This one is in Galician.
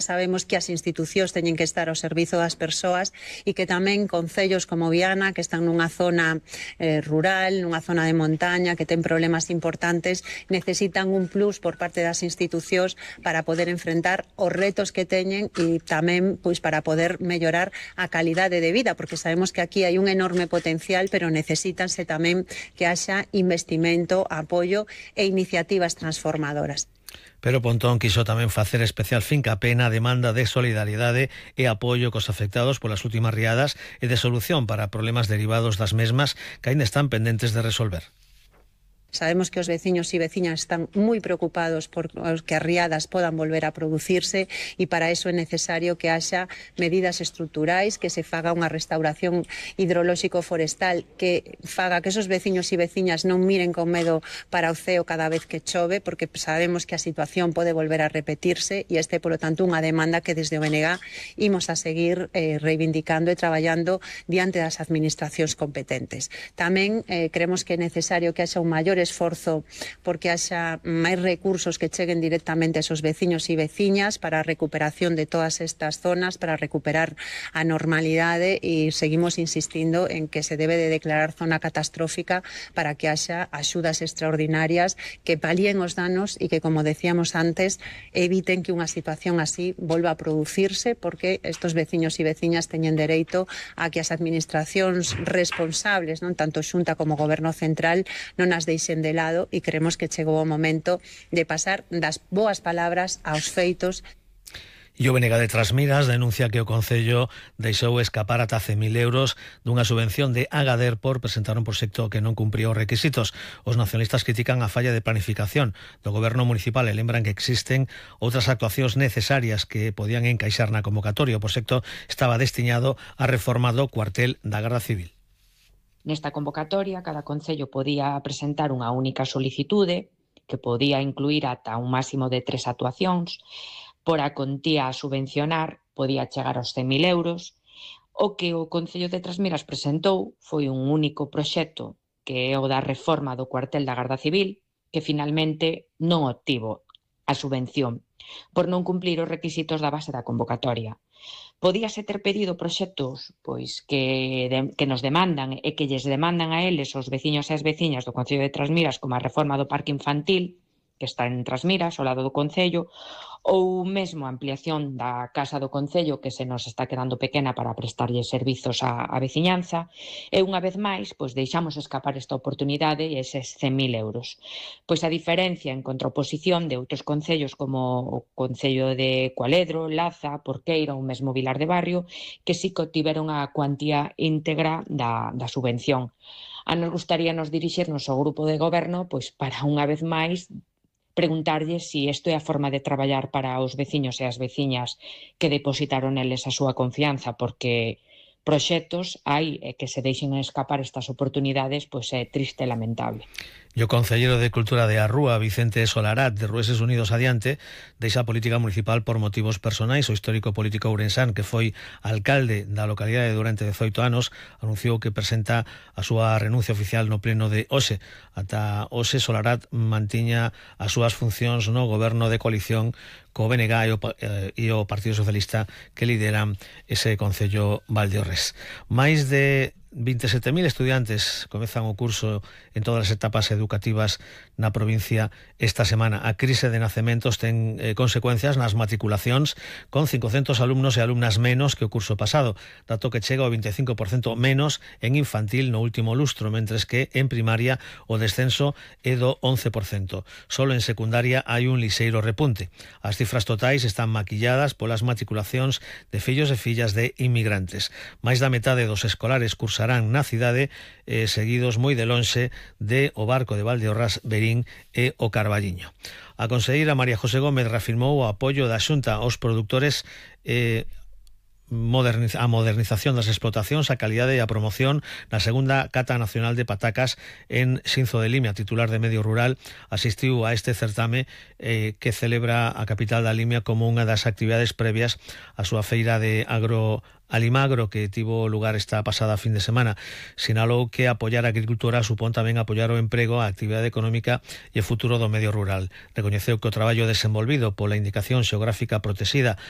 sabemos que as institucións teñen que estar ao servizo das persoas e que tamén concellos como Viana, que están nunha zona rural, nunha zona de montaña, que ten problemas importantes, necesitan un plus por parte das institucións para poder enfrentar os retos que teñen e tamén pois para poder mellorar a calidade de vida, porque sabemos que aquí hai un enorme potencial, pero necesítanse tamén que haxa investimento, apoio e iniciativas transformadoras. Pero Pontón quiso tamén facer especial fincapé na demanda de solidariedade e apoio cos afectados polas últimas riadas e de solución para problemas derivados das mesmas que aínda están pendentes de resolver. Sabemos que os veciños e veciñas están moi preocupados por que as riadas podan volver a producirse e para eso é necesario que haxa medidas estruturais, que se faga unha restauración hidrolóxico-forestal que faga que esos veciños e veciñas non miren con medo para o ceo cada vez que chove, porque sabemos que a situación pode volver a repetirse e este, polo tanto, unha demanda que desde o BNG imos a seguir reivindicando e traballando diante das administracións competentes. Tamén creemos que é necesario que haxa un maior esforzo porque haxa máis recursos que cheguen directamente a esos veciños e veciñas para a recuperación de todas estas zonas, para recuperar a normalidade e seguimos insistindo en que se debe de declarar zona catastrófica para que haxa axudas extraordinarias que palíen os danos e que, como decíamos antes, eviten que unha situación así volva a producirse, porque estos veciños e veciñas teñen dereito a que as administracións responsables, non tanto Xunta como Goberno Central, non as deixen de lado e creemos que chegou o momento de pasar das boas palabras aos feitos. E o BNG de Trasmiras denuncia que o Concello deixou escapar ata 100.000 euros dunha subvención de Agader por presentar un proxecto que non cumpría os requisitos. Os nacionalistas critican a falla de planificación do Goberno municipal e lembran que existen outras actuacións necesarias que podían encaixar na convocatoria. O proxecto estaba destinado á reforma do cuartel da Garda Civil. Nesta convocatoria, cada concello podía presentar unha única solicitude que podía incluir ata un máximo de 3 actuacións. Por a contía a subvencionar podía chegar aos 100.000 euros. O que o Concello de Trasmiras presentou foi un único proxecto, que é o da reforma do cuartel da Garda Civil, que finalmente non obtivo a subvención por non cumplir os requisitos da base da convocatoria. Podíase ter pedido proxectos pois que nos demandan e que lles demandan a eles os veciños e as veciñas do Concello de Trasmiras, como a reforma do parque infantil, que está en Trasmiras, ao lado do Concello, ou mesmo a ampliación da Casa do Concello, que se nos está quedando pequena para prestarlle servizos á veciñanza, e unha vez máis, pois deixamos escapar esta oportunidade e eses 100.000 euros. Pois a diferencia en contraposición de outros concellos como o Concello de Cualedro, Laza, Porqueira ou mesmo Vilar de Barrio, que sí que obtiveron a cuantía íntegra da subvención. A nos gustaríanos dirixirnos ao grupo de goberno pois para unha vez máis preguntarlles se isto é a forma de traballar para os veciños e as veciñas que depositaron eles a súa confianza, porque proxectos hai e que se deixen escapar estas oportunidades pois é triste e lamentable. E o concelleiro de Cultura de Arrúa, Vicente Solarat, de Rueses Unidos Adiante, deixa a política municipal por motivos personais. O histórico político ourensán, que foi alcalde da localidade durante 18 anos, anunciou que presenta a súa renuncia oficial no pleno de hoxe. Ata hoxe, Solarat mantiña as súas funcións no goberno de coalición co BNG e o Partido Socialista que lideran ese concello Valdeorres. Máis de 27.000 estudiantes comezan o curso en todas as etapas educativas na provincia esta semana. A crise de nacementos ten consecuencias nas matriculacións, con 500 alumnos e alumnas menos que o curso pasado, dato que chega ao 25% menos en infantil no último lustro, mentres que en primaria o descenso é do 11%. Solo en secundaria hai un lixeiro repunte. As cifras totais están maquilladas polas matriculacións de fillos e fillas de inmigrantes. Máis da metade dos escolares cursarán na cidade, seguidos moi de lonxe de o Barco de Valdeorras, Verín e o Carballiño. A conselleira María José Gómez reafirmou o apoio da Xunta aos produtores a modernización das explotacións, a calidade e a promoción na segunda Cata Nacional de Patacas en Xinzo de Limia. Titular de Medio Rural asistiu a este certame que celebra a capital da Limia como unha das actividades previas á súa feira de Alimagro, que tivo lugar esta pasada fin de semana. Sinalou que apoiar a agricultura supón tamén apoiar o emprego, a actividade económica e o futuro do medio rural. Recoñeceu que o traballo desenvolvido pola indicación xeográfica protexida